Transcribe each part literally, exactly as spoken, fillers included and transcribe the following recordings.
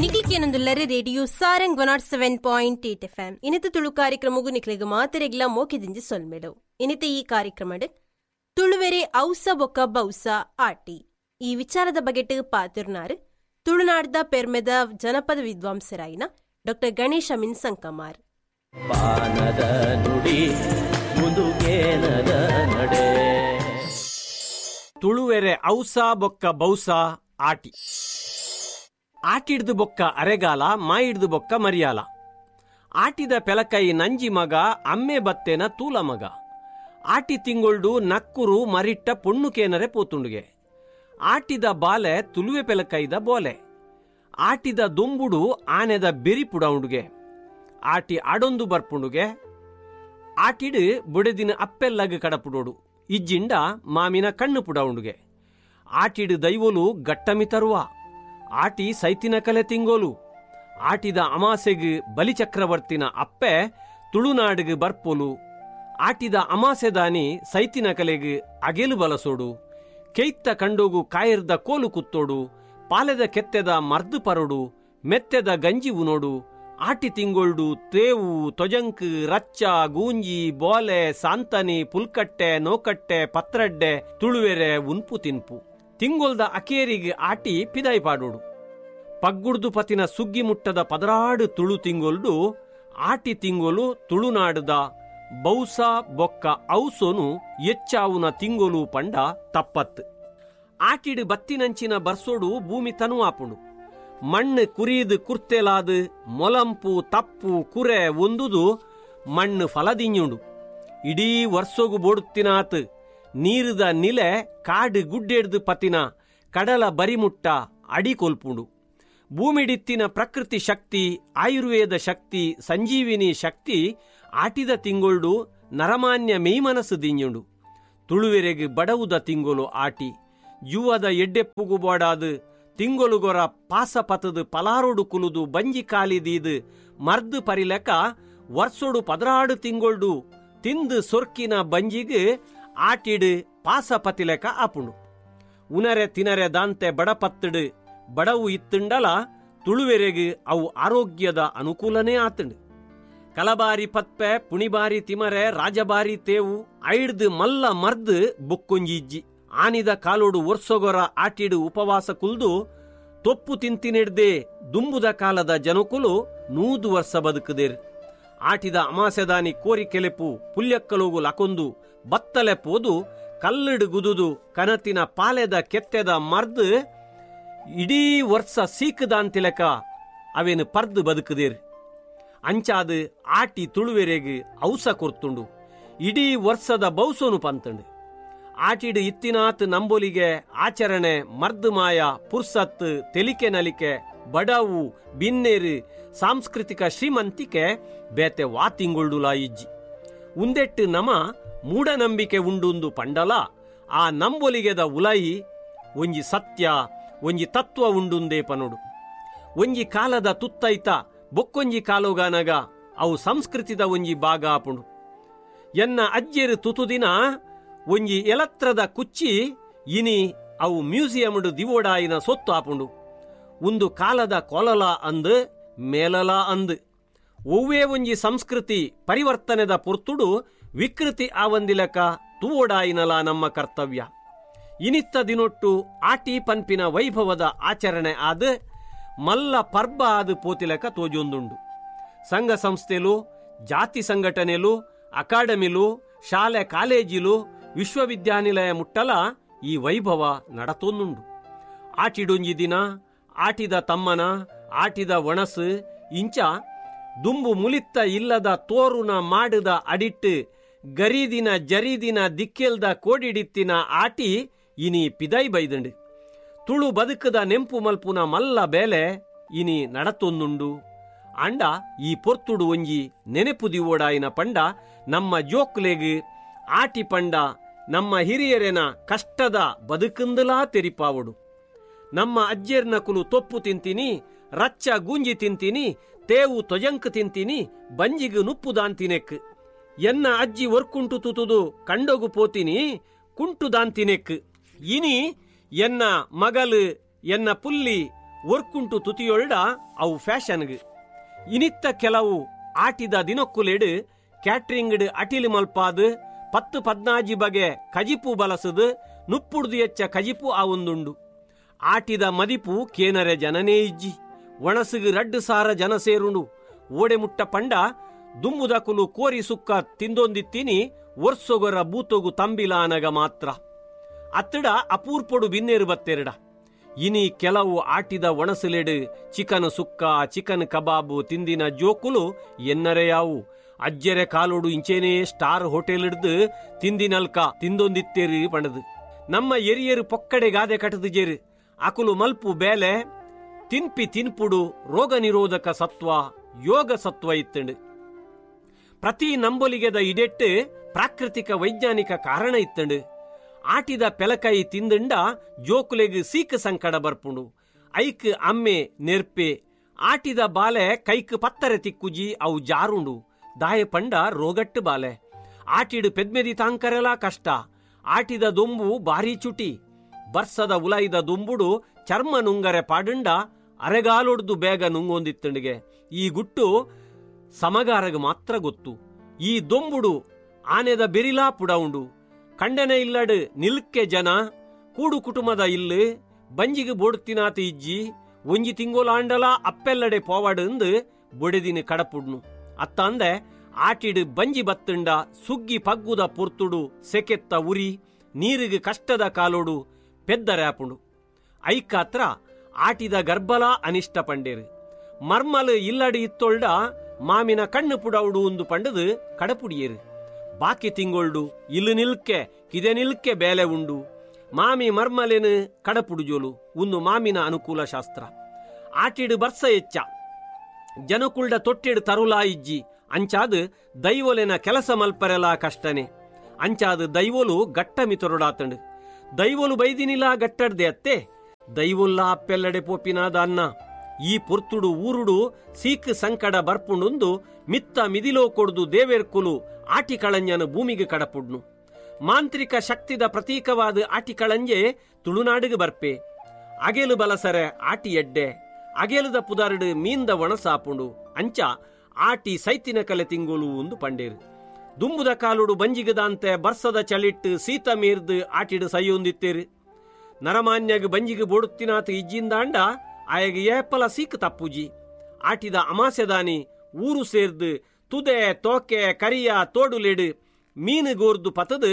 ನಿಕ್ಲಿಕೇನೊಂದುಲ್ಲರೆ radio Sarang one nought seven point eight F M ಇನಿತ ತುಳು ಕಾರ್ಯಕ್ರಮಗೂ ನಿಕ್ಲಿಗೆ ಮಾತೆರೆಗ್ಲ ಮೋಕೆದಿಂಜಿ ಸೊಲ್ಮೆಡು. ಇನಿತ ಈ ಕಾರ್ಯಕ್ರಮ ತುಳುವೆರೆ ಔಸ ಬೊಕ್ಕ ಬೌಸ ಆಟಿ ಈ ವಿಚಾರದ ಬಗೆಟ್ ಪಾತಿರ್ನಾರು ತುಳುನಾಡ್ದ ಪೆರ್ಮೆದ ಜನಪದ ವಿದ್ವಾಂಸರಾಯಿನ ಡಾಕ್ಟರ್ ಗಣೇಶ್ ಅಮೀನ್ ಸಂಕಮಾರ್. ಪಾನದ ನುಡಿ ಮುಂದುಗೇನದ ನಡೆ ತುಳುವೆರೆ ಔಸ ಬೊಕ್ಕ ಬೌಸ ಆಟಿ. ಆಟಿಡ್ದು ಬೊಕ್ಕ ಅರೆಗಾಲ, ಮಾಯಿಡ್ದು ಬೊಕ್ಕ ಮರಿಯಾಲ. ಆಟಿದ ಪೆಲಕೈ ನಂಜಿ ಮಗ, ಅಮ್ಮೆ ಬತ್ತೇನ ತೂಲ ಮಗ. ಆಟಿ ತಿಂಗೊಳ್ಡು ನಕ್ಕುರು ಮರಿಟ್ಟ ಪೊಣ್ಣು ಕೇನರೆ ಪೋತುಂಡುಗೆ. ಆಟಿದ ಬಾಲೆ ತುಳುವೆ ಪೆಲಕೈದ ಬೋಲೆ. ಆಟಿದ ದೊಂಬುಡು ಆನೆದ ಬೆರಿ ಪುಡೌಂಡುಗೆ. ಆಟಿ ಅಡೊಂದು ಬರ್ಪುಂಡುಗೆ. ಆಟಿಡು ಬುಡೆದಿನ ಅಪ್ಪೆಲ್ಲಗ್ ಕಡಪುಡೋಡು, ಇಜ್ಜಿಂಡ ಮಾಮಿನ ಕಣ್ಣು ಪುಡೌಂಡುಗೆ. ಆಟಿಡು ದೈವೋಲು ಗಟ್ಟಮಿ ತರುವ. ಆಟಿ ಸೈತಿನ ಕಲೆ ತಿಂಗೋಲು. ಆಟಿದ ಅಮಾಸೆಗ್ ಬಲಿಚಕ್ರವರ್ತಿನ ಅಪ್ಪೆ ತುಳುನಾಡಿಗೆ ಬರ್ಪೋಲು. ಆಟಿದ ಅಮಾಸೆದಾನಿ ಸೈತಿನ ಕಲೆಗ್ ಅಗೆಲು ಬಲಸೋಡು. ಕೆಯ್ತ ಕಂಡೋಗು ಕಾಯಿರ್ದ ಕೋಲು ಕುತ್ತೋಡು. ಪಾಲೆದ ಕೆತ್ತೆದ ಮರ್ದು ಪರೋಡು. ಮೆತ್ತೆದ ಗಂಜಿ ಉನೋಡು. ಆಟಿ ತಿಂಗೊಳ್ಡು ತೇವು, ತೊಜಂಕ್, ರಚ್ಚ, ಗೂಂಜಿ, ಬೋಲೆ, ಸಾಂತನಿ, ಪುಲ್ಕಟ್ಟೆ, ನೋಕಟ್ಟೆ, ಪತ್ರಡ್ಡೆ ತುಳುವೆರೆ ಉನ್ಪು ತಿನ್ಪು. ತಿಂಗೊಲ್ದ ಅಕೇರಿಗೆ ಆಟಿ ಪಿದಾಯಿ ಪಾಡೋಡು. ಪಗ್ಗುಡ್ದು ಪತಿನ ಸುಗ್ಗಿ ಮುಟ್ಟದ ಪದರಾಡು ತುಳು ತಿಂಗೊಲ್ಡು ಆಟಿ ತಿಂಗೊಲು ತುಳುನಾಡುದ ಬೌಸ ಬೊಕ್ಕ ಔಸೋನು ಎಚ್ಚಾವುನ ತಿಂಗೊಲು ಪಂಡ ತಪ್ಪತ್ತು. ಆಟಿಡು ಬತ್ತಿನಂಚಿನ ಬರ್ಸೋಡು ಭೂಮಿ ತನುವಾಪುಂಡು. ಮಣ್ಣು ಕುರಿದು ಕುರ್ತೆಲಾದು ಮೊಲಂಪು ತಪ್ಪು ಕುರೆ ಒಂದುದು ಮಣ್ಣು ಫಲದಿಂಜುಂಡು. ಇಡೀ ವರ್ಷೋಗು ಬೋಡುತ್ತಿನಾತ್ ನೀರುದ ನಿಲೆ ಕಾಡು ಗುಡ್ಡೆಡ್ದು ಪತಿನ ಕಡಲ ಬರಿಮುಟ್ಟ ಅಡಿ ಕೊಲ್ಪುಂಡು. ಭೂಮಿಡಿತ್ತಿನ ಪ್ರಕೃತಿ ಶಕ್ತಿ, ಆಯುರ್ವೇದ ಶಕ್ತಿ, ಸಂಜೀವಿನಿ ಶಕ್ತಿ ಆಟಿದ ತಿಂಗೊಳ್ಡು ನರಮಾನ್ಯ ಮೇಯ್ಮನಸ್ಸು ದಿಂಜುಂಡು. ತುಳುವೆರೆಗ್ ಬಡವುದ ತಿಂಗೊಲು ಆಟಿ. ಯುವದ ಎಡ್ಡೆಪ್ಪುಗು ಬೋಡಾದು ತಿಂಗೊಲುಗೊರ ಪಾಸ ಪತದು ಪಲಾರೋಡು ಕುಲುದು ಬಂಜಿ ಕಾಲಿದೀದು ಮರ್ದು ಪರಿಲೆಕ ವರ್ಷೋಡು ಪದರಾಡು ತಿಂಗೊಳ್ಡು ತಿಂದು ಸೊರ್ಕಿನ ಬಂಜಿಗೆ ಆಟಿಡು ಪಾಸ ಪತಿಲೆಕ ಆಪುಂಡು. ಉನರೆ ತಿನರೆ ದಾಂತೆ ಬಡಪತ್ತಡು ಬಡವು ಇತ್ತುಂಡಲ ತುಳುವೆರೆಗ್ ಅವು ಆರೋಗ್ಯದ ಅನುಕೂಲನೇ ಆತುಂಡು. ಕಲಬಾರಿ ಪತ್ಪೆ, ಪುಣಿಬಾರಿ ತಿಮರೆ, ರಾಜಬಾರಿ ತೇವು ಐಡ್ದು ಮಲ್ಲ ಮರ್ದು ಬೊಕ್ಕೊಂಜಿ ಇಜ್ಜಿ. ಆನಿದ ಕಾಲೋಡು ವರ್ಷಗೊರ ಆಟಿಡು ಉಪವಾಸ ಕುಲ್ದು ತೊಪ್ಪು ತಿಂತಿನೆಡ್ದೆ ದುಂಬುದ ಕಾಲದ ಜನಕುಲು ನೂದು ವರ್ಷ ಬದುಕುದೇರು. ಆಟಿದ ಅಮಾಸೆದಾನಿ ಕೋರಿ ಕೆಲೆಪು ಪುಲ್ಯಕ್ಕಲೋಗು ಲಕೊಂದು ಬತ್ತಲೆ ಪೋದು ಕಲ್ಲಡು ಗುದುದು ಕನತಿನ ಪಾಲೆದ ಕೆತ್ತೆದ ಮರ್ದು ಇಡೀ ವರ್ಷ ಸೀಕದಾಂತಿಲಕ ಅವೇನು ಪರ್ದು ಬದುಕುದೇರು. ಅಂಚಾದು ಆಟಿ ತುಳುವೆರೆಗ್ ಔಸ ಕೊರ್ತುಂಡು, ಇಡೀ ವರ್ಷದ ಬೌಸೋನು ಪಂತುಂಡು. ಆಟಿಡು ಇತ್ತಿನಾತ್ ನಂಬೊಲಿಗೆ ಆಚರಣೆ ಮರ್ದು ಮಾಯ ಪುರ್ಸತ್ತು ತೆಲಿಕೆ ನಲಿಕೆ ಬಡವು ಬಿನ್ನೇರು ಸಾಂಸ್ಕೃತಿಕ ಶ್ರೀಮಂತಿಕೆ ಬೇತೆ ವಾ ತಿಂಗೊಳ್ಡುಲಾ ಇಜ್ಜಿ. ಉಂದೆಟ್ಟು ನಮ ಮೂಢನಂಬಿಕೆ ಉಂಡುಂದು ಪಂಡಲ ಆ ನಂಬೊಲಿಗೆದ ಉಲಯಿ ಒಂಜಿ ಸತ್ಯ ಒಂಜಿ ತತ್ವ ಉಂಡುಂದೇ ಪನೋಡು. ಒಂಜಿ ಕಾಲದ ತುತ್ತೈತ ಬೊಕ್ಕೊಂಜಿ ಕಾಲೋಗಾನಗ ಅವು ಸಂಸ್ಕೃತಿದ ಒಂಜಿ ಭಾಗ ಆಪುಂಡು. ಎನ್ನ ಅಜ್ಜೆರು ತುತುದಿನ ಒಂಜಿ ಎಲತ್ರದ ಕುಚ್ಚಿ ಇನಿ ಅವು ಮ್ಯೂಸಿಯಂಡು ದಿವೋಡಾಯಿನ ಸೊತ್ತು ಆಪುಂಡು. ಒಂದು ಕಾಲದ ಕೊಲಲ ಅಂದು ಮೇಲಲ ಅಂದು ಒವ್ವೇ ಒಂಜಿ ಸಂಸ್ಕೃತಿ ಪರಿವರ್ತನೆದ ಪೊರ್ತುಡು ವಿಕೃತಿ ಆವಂದಿಲಕ ತೂವೋಡಾಯಿನಲ ನಮ್ಮ ಕರ್ತವ್ಯ. ಇನಿತ್ತ ದಿನೊಟ್ಟು ಆಟಿ ಪನ್ಪಿನ ವೈಭವದ ಆಚರಣೆ ಆದ ಮಲ್ಲ ಪರ್ಬ ಆದ ಪೋತಿಲಕ ತೋಜೊಂದುಂಡು. ಸಂಘ ಸಂಸ್ಥೆಲು, ಜಾತಿ ಸಂಘಟನೆಲು, ಅಕಾಡೆಮಿಲು, ಶಾಲೆ ಕಾಲೇಜಿಲು, ವಿಶ್ವವಿದ್ಯಾನಿಲಯ ಮುಟ್ಟಲ ಈ ವೈಭವ ನಡತೊಂದುಂಡು. ಆಟಿಡೊಂಜಿ ದಿನ, ಆಟಿದ ತಮ್ಮನ, ಆಟಿದ ಒಣಸು ಇಂಚ ದುಂಬು ಮುಲಿತ್ತ ಇಲ್ಲದ ತೋರುನ ಮಾಡದ ಅಡಿಟ್ಟು ಗರೀದಿನ ಜರೀದಿನ ದಿಕ್ಕೆಲ್ದ ಕೋಡಿಡಿತ್ತಿನ ಆಟಿ ಇನಿ ಪಿದೈ ಬೈದಂಡು. ತುಳು ಬದುಕದ ನೆಂಪು ಮಲ್ಪುನ ಮಲ್ಲ ಬೇಲೆ ಇನಿ ನಡತೊಂದುಂಡು. ಅಂಡ ಈ ಪೊರ್ತುಡು ಒಂಜಿ ನೆನೆಪು ದಿವೋಡಾಯಿನ ಪಂಡ ನಮ್ಮ ಜೋಕ್ಲೆಗ್ ಆಟಿ ಪಂಡ ನಮ್ಮ ಹಿರಿಯರೆನ ಕಷ್ಟದ ಬದುಕಂದಲಾ ತೆರಿಪಾವಡು. ನಮ್ಮ ಅಜ್ಜೆರ್ನ ಕುಲು ತೊಪ್ಪು ತಿಂತೀನಿ, ರಚ್ಚ ಗೂಂಜಿ ತಿಂತೀನಿ, ತೇವು ತೊಜಂಕ್ ತಿಂತೀನಿ, ಬಂಜಿಗು ನುಪ್ಪು ದಾಂತಿನೆಕ್. ಎನ್ನ ಅಜ್ಜಿ ಒರ್ಕುಂಟು ತುತುದು ಕಂಡೋಗು ಪೋತೀನಿ, ಕುಂಟು ದಾಂತಿನೆಕ್. ಇನಿ ಎನ್ನ ಮಗಲು ಎನ್ನ ಪುಲ್ಲಿ ಒರ್ಕುಂಟು ತುತಿಯೊಳ್ಡ ಅವು ಫ್ಯಾಷನ್ಗ್. ಇನಿತ್ತ ಕೆಲವು ಆಟಿದ ದಿನಕ್ಕುಲೆಡು ಕ್ಯಾಟ್ರಿಂಗ್ಡ್ ಅಟಿಲ್ ಮಲ್ಪಾದು ಪತ್ತು ಪದ್ನಾಜಿ ಬಗೆ ಕಜಿಪು ಬಲಸದು ನುಪ್ಪುಡ್ದು ಎಚ್ಚ ಕಜಿಪು ಆವೊಂದುಂಡು. ಆಟಿದ ಮದಿಪು ಕೇನರೆ ಜನನೇ ಇಜ್ಜಿ. ಒಣಸುಗು ರಡ್ಡು ಸಾರ ಜನ ಸೇರುಂಡು. ಓಡೆ ಮುಟ್ಟ ಪಂಡ ದುಂಬುದಕುಲು ಕೋರಿ ಸುಕ್ಕ ತಿಂದೊಂದಿತ್ತೀನಿ ಒರ್ಸೊಗೊರ ಬೂತೊಗು ತಂಬಿಲಾನಗ ಮಾತ್ರ. ಅತ್ತಡ ಅಪೂರ್ಪೊಡು ಬಿನ್ನೇರು ಬತ್ತೆರಡ. ಇನಿ ಕೆಲವು ಆಟಿದ ಒಣಸುಲೆಡು ಚಿಕನ್ ಸುಕ್ಕ ಚಿಕನ್ ಕಬಾಬು ತಿಂದಿನ ಜೋಕುಲು ಎನ್ನರೆಯಾವು. ಅಜ್ಜೆರೆ ಕಾಲೋಡು ಇಂಚೇನೇ ಸ್ಟಾರ್ ಹೋಟೆಲ್ ಹಿಡ್ದು ತಿಂದಿನಲ್ಕ ತಿಂದೊಂದಿತ್ತೇರಿ ಪಣದು. ನಮ್ಮ ಎರಿಯರು ಪೊಕ್ಕಡೆ ಗಾದೆ ಕಟದು ಜೇರು. ಅಕುಲು ಮಲ್ಪು ಬೇಲೆ ತಿನ್ಪಿ ತಿನ್ಪುಡು ರೋಗ ನಿರೋಧಕ ಸತ್ವ ಯೋಗ ಸತ್ವ ಇತ್ತಂಡು. ಪ್ರತಿ ನಂಬೊಲಿಗೆದ ಇಡೆಟ್ಟು ಪ್ರಾಕೃತಿಕ ವೈಜ್ಞಾನಿಕ ಕಾರಣ ಇತ್ತಂಡು. ಆಟಿದ ಪೆಲಕೈ ತಿಂದಂಡ ಜೋಕುಲೆಗ್ ಸೀಕ್ ಸಂಕಡ ಬರ್ಪುಂಡು. ಐಕ್ ಅಮ್ಮೆ ನೆರ್ಪೆ. ಆಟಿದ ಬಾಲೆ ಕೈಕ್ ಪತ್ತರೆ ತಿಕ್ಕುಜಿ ಅವು ಜಾರುಂಡು. ದಾಯ ಪಂಡ ರೋಗಟ್ಟು ಬಾಲೆ. ಆಟಿಡು ಪೆದ್ಮೆದಿ ತಾಂಕರೆಲಾ ಕಷ್ಟ. ಆಟಿದ ದೊಂಬು ಭಾರೀ ಚುಟಿ. ಬರ್ಸದ ಉಲಾಯಿದ ದೊಂಬುಡು ಚರ್ಮ ನುಂಗರೆ ಪಾಡುಂಡ ಅರೆಗಾಲೊಡ್ದು ಬೇಗ ನುಂಗೊಂದಿತ್ತಂಡಿಗೆ. ಈ ಗುಟ್ಟು ಸಮಗಾರಗ ಮಾತ್ರ ಗೊತ್ತು. ಈ ದೊಂಬುಡು ಆನೆದ ಬೆರಿಲಾ ಪುಡವುಂಡು. ಕಂಡನೆ ಇಲ್ಲಡು ನಿಲ್ಕೆ ಜನ ಕೂಡು ಕುಟುಂಬದ ಇಲ್ಲು ಬಂಜಿಗೆ ಬೋಡ್ತಿನಾತ ಇಜ್ಜಿ ಒಂಜಿ ತಿಂಗೋಲಾಂಡಲ ಅಪ್ಪೆಲ್ಲಡೆ ಪೋವಾಡು ಬೊಡೆದಿನ ಕಡಪುಡ್ನು. ಅತ್ತಂದೆ ಆಟಿಡು ಬಂಜಿ ಬತ್ತುಂಡ ಸುಗ್ಗಿ ಪಗ್ಗುದ ಪೊರ್ತುಡು ಸೆಕೆತ್ತ ಉರಿ ನೀರಿಗೆ ಕಷ್ಟದ ಕಾಲೋಡು ಪೆದ್ದರ್ಯಾಪುಂಡು. ಐಕಾತ್ರ ಆಟಿದ ಗರ್ಭಲ ಅನಿಷ್ಟ ಪಂಡೇರು. ಮರ್ಮಲು ಇಲ್ಲಡು ಇತ್ತೊಳ್ಡ ಮಾಮಿನ ಕಣ್ಣು ಪುಡೌಡು ಒಂದು ಪಂಡದು ಕಡಪುಡಿಯೇರು. ಬಾಕಿ ತಿಂಗೊಳ್ಡು ಇಲ್ಲು ನಿಲ್ಕೆ ಕಿದೆ ನಿಲ್ಕೆ ಬೇಲೆ ಉಂಡು. ಮಾಮಿ ಮರ್ಮಲೇನು ಕಡಪುಡುಜೋಲು ಒಂದು ಮಾಮಿನ ಅನುಕೂಲ ಶಾಸ್ತ್ರ. ಆಟಿಡು ಬರ್ಸ ಹೆಚ್ಚ ಜನಕುಳ್ಡ ತೊಟ್ಟಿಡು ತರುಲಾ ಇಜ್ಜಿ. ಅಂಚಾದು ದೈವೊಲೆನ ಕೆಲಸ ಮಲ್ಪರೆಲಾ ಕಷ್ಟನೆ. ಅಂಚಾದು ದೈವೊಲು ಗಟ್ಟ ಮಿತೊರಡಾತಂಡು. ದೈವೊಲು ಬೈದಿನಿಲಾ ಗಟ್ಟಡ್ದೆ ಅತ್ತೆ ದೈವೊಲ್ಲ ಅಪ್ಪೆಲ್ಲಡೆ ಪೋಪಿನಾದ ಅನ್ನ. ಈ ಪೊರ್ತುಡು ಊರುಡು ಸೀಕ್ ಸಂಕಡ ಬರ್ಪುಂಡುಂದು ಮಿತ್ತ ಮಿದಿಲೋ ಕೊಡ್ದು ದೇವೇರ್ಕುಲು ಆಟಿಕಳಂಜನ ಭೂಮಿಗೆ ಕಡಪುಡ್ನು. ಮಾಂತ್ರಿಕ ಶಕ್ತಿದ ಪ್ರತೀಕವಾದ ಆಟಿಕಳಂಜೆ ತುಳುನಾಡಿಗೆ ಬರ್ಪೆ. ಅಗೆಲು ಬಲಸರೆ ಆಟಿ ಎಡ್ಡೆ. ಅಗೆಲುದ ಪುದಾರುಡು ಮೀಂದ ಒಣಸಾಪುಂಡು. ಅಂಚ ಆಟಿ ಸೈತಿನ ಕಲೆ ತಿಂಗುಳು ಒಂದು ಪಂಡೇರು. ದುಂಬುದ ಕಾಲುಡು ಬಂಜಿಗದಾಂತೆ ಬರ್ಸದ ಚಳಿಟ್ಟು ಸೀತ ಮೀರ್ದು ಆಟಿಡು ಸೈಯೊಂದಿತ್ತೇರು. ನರಮಾನ್ಯಗ ಬಂಜಿಗೆ ಬೋಡುತ್ತಿನಾತ ಇಜ್ಜಿಂದಾಂಡ ಆಯಗ ಏಪಲ ಸೀಕ್ ತಪ್ಪುಜಿ. ಆಟಿದ ಅಮಾಸೆದಾನಿ ಊರು ಸೇರ್ದು ತುದೆ ತೋಕೆ ಕರಿಯ ತೋಡುಲೆಡು ಮೀನು ಗೋರ್ದು ಪತದು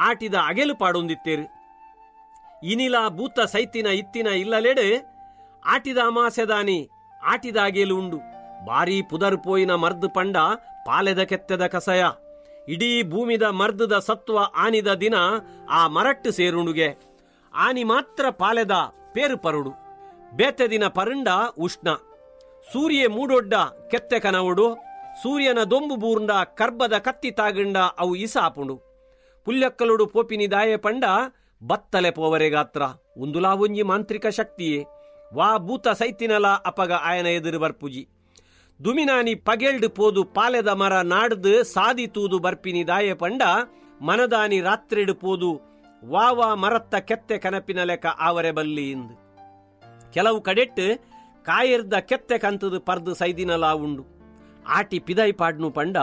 ಆಟಿದ ಅಗೆಲು ಪಾಡೊಂದಿತ್ತೇರು. ಇನಿಲ ಭೂತ ಸೈತಿನ ಇತ್ತಿನ ಇಲ್ಲಲೆಡು ಆಟಿದ ಅಮಾಸೆದಾನಿ ಆಟಿದ ಅಗೆಲು ಉಂಡು. ಬಾರಿ ಪುದರ್ ಪೋಯಿನ ಮರ್ದು ಪಂಡ ಪಾಲೆದ ಕೆತ್ತೆದ ಕಸಯ. ಇಡೀ ಭೂಮಿದ ಮರ್ದದ ಸತ್ವ ಆನಿದ ದಿನ ಆ ಮರಟ್ಟು ಸೇರುಂಡುಗೆ. ಆನಿ ಮಾತ್ರ ಪಾಲೆದ ಪೇರು ಪರುಡು. ಬೇತೆ ದಿನ ಪರುಂಡ ಉಷ್ಣ. ಸೂರ್ಯ ಮೂಡೊಡ್ಡ ಕೆತ್ತೆ ಕನವುಡು. ಸೂರ್ಯನ ದೊಂಬು ಬೂರ್ಂಡ ಕರ್ಬದ ಕತ್ತಿ ತಾಗಂಡ ಅವು ಇಸಾಪುಂಡು. ಪುಲ್ಯಕ್ಕಲುಡು ಪೋಪಿನಿ ದಾಯೆ ಪಂಡ ಬತ್ತಲೆ ಪೋವರೆ ಗಾತ್ರ. ಉಂದುಲಾ ಒಂಜಿ ಮಾಂತ್ರಿಕ ಶಕ್ತಿಯೇ. ವಾ ಭೂತ ಸೈತಿನಲ ಅಪಗ ಆಯನ ಎದುರು ಬರ್ಪುಜಿ. ದುಮಿನಾನಿ ಪಗೆಲ್ಡು ಪೋದು ಪಾಲೆದ ಮರ ನಾಡ್ದು ಸಾದಿ ತೂದು ಬರ್ಪಿನಿ ದಾಯೆ ಪಂಡ ಮನದಾನಿ ರಾತ್ರಿಡು ಪೋದು ವಾವಾ ಮರತ್ತ ಕೆತ್ತೆ ಕನಪಿನ ಲೆಕ್ಕ ಆವರೆ ಬಲ್ಲಿ ಇಂದು. ಕೆಲವು ಕಡೆಟ್ಟು ಕಾಯಿರ್ದ ಕೆತ್ತೆ ಕಂತದು ಪರ್ದು ಸೈದಿನಲಾ ಉಂಡು. ಆಟಿ ಪಿದೈ ಪಾಡ್ನು ಪಂಡ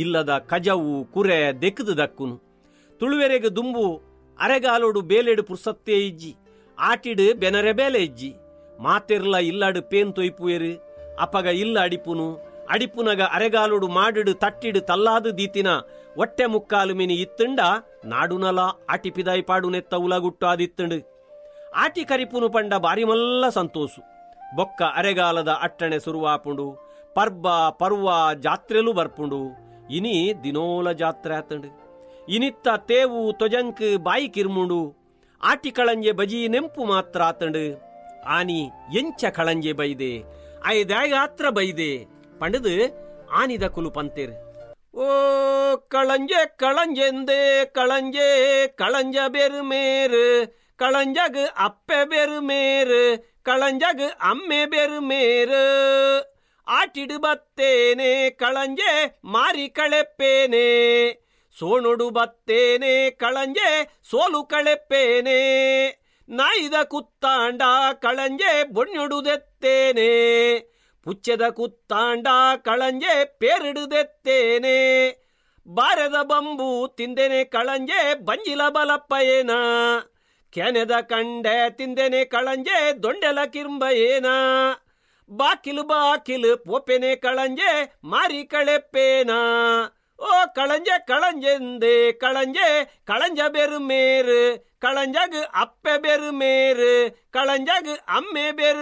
ಇಲ್ಲದ ಕಜವು ಕುರೆ ದೆಕ್ಕದು ದಕ್ಕುನು. ತುಳುವೆರೆಗೆ ದುಂಬು ಅರೆಗಾಲೋಡು ಬೇಲೆಡು ಪುರ್ಸತ್ತೇ ಇಜ್ಜಿ. ಆಟಿಡು ಬೆನರೆ ಬೇಲೆ ಇಜ್ಜಿ. ಮಾತೆರ್ಲ ಇಲ್ಲಾಡು ಪೇನ್ ತೊಯ್ಪುವೆರು. ಅಪಗ ಇಲ್ಲ ಅಡಿಪುನು. ಅಡಿಪುನಗ ಅರೆಗಾಲೋಡು ಮಾಡಿಡು ತಟ್ಟಿಡು ತಲ್ಲಾದು ದೀತಿನ ಒಟ್ಟೆ ಮುಕ್ಕಾಲು ಮಿನಿ ಇತ್ತುಂಡ ನಾಡುನಲ ಆಟಿ ಪಿದಾಯಿ ಪಾಡುನೆತ್ತ ಉಲಗುಟ್ಟು ಆದಿತ್ತುಂಡು. ಆಟಿ ಕರಿಪುನು ಪಂಡ ಬಾರಿ ಮಲ್ಲ ಸಂತೋಸು. ಬೊಕ್ಕ ಅರೆಗಾಲದ ಅಟ್ಟಣೆ ಸುರುವಾಪುಂಡು. ಪರ್ಬ ಪರ್ವ ಜಾತ್ರೆಲು ಬರ್ಪುಂಡು. ಇನಿ ದಿನೋಲ ಜಾತ್ರೆ ಆತಂಡು. ಇನಿತ್ತ ತೇವು ತೊಜಂಕ್ ಬಾಯಿ ಕಿರ್ಮುಂಡು. ಆಟಿ ಕಳಂಜೆ ಬಜಿ ನೆಂಪು ಮಾತ್ರ ಆತಂಡು. ಆನಿ ಎಂಚ ಕಳಂಜೆ ಬೈದೆ ಐದಾಗಾತ್ರ ಬೈದೆ ಪಂಡದು ಆನಿದ ಕುಲು ಪಂತೇರು. ಓ ಕಳಂಜೆ ಕಳಂಜೆಂದೆ ಕಳಂಜೆ ಕಳಂಜ ಬೆರು ಮೇರು ಕಳಂಜಗ್ ಅಪ್ಪೆ ಬೆರು ಮೇರು ಕಳಂಜಗ್ ಅಮ್ಮೆ ಬೆರು ಮೇರು ಆಟಿಡು ಬತ್ತೇನೆ ಕಳಂಜೆ ಮಾರಿ ಕಳೆಪ್ಪೇನೆ ಸೋಣೊಡು ಬತ್ತೇನೆ ಕಳಂಜೆ ಸೋಲು ಕಳೆಪ್ಪೇನೆ ನಾಯಿದ ಕುತ್ತಾಂಡ ಕಳಂಜೆ ಬೊಣ್ಯೊಡುದೆತ್ತೇನೆ, ಪುಚ್ಚೆದ ಕುತ್ತಾಂಡ ಕಳಂಜೆ ಪೇರಿಡುದೆತ್ತೇನೆ, ಬಾರೆದ ಬಂಬು ತಿಂದೆನೆ ಕಳಂಜೆ ಬಂಜಿಲ ಬಲಪ್ಪಯೇನ, ಕೆನೆದ ಕಂಡೆ ತಿಂದೆನೆ ಕಳಂಜೆ ದೊಂಡೆಲ ಕಿರ್ಂಬಯೇನ, ಬಾಕಿಲು ಬಾಕಿಲು ಪೋಪೆನೆ ಕಳಂಜೆ ಮಾರಿ ಕಳೆಪ್ಪೇನ, ಓ ಕಳಂಜೆ ಕಳಂಜೆಂದೆ ಕಳಂಜೆ ಕಳಂಜ ಬೆರುಮೇರು, ಕಳಂಜಗ್ ಅಪ್ಪೆ ಬೆರುಮೇರು, ಕಳಂಜಗ್ ಅಮ್ಮೆ ಬೆರು.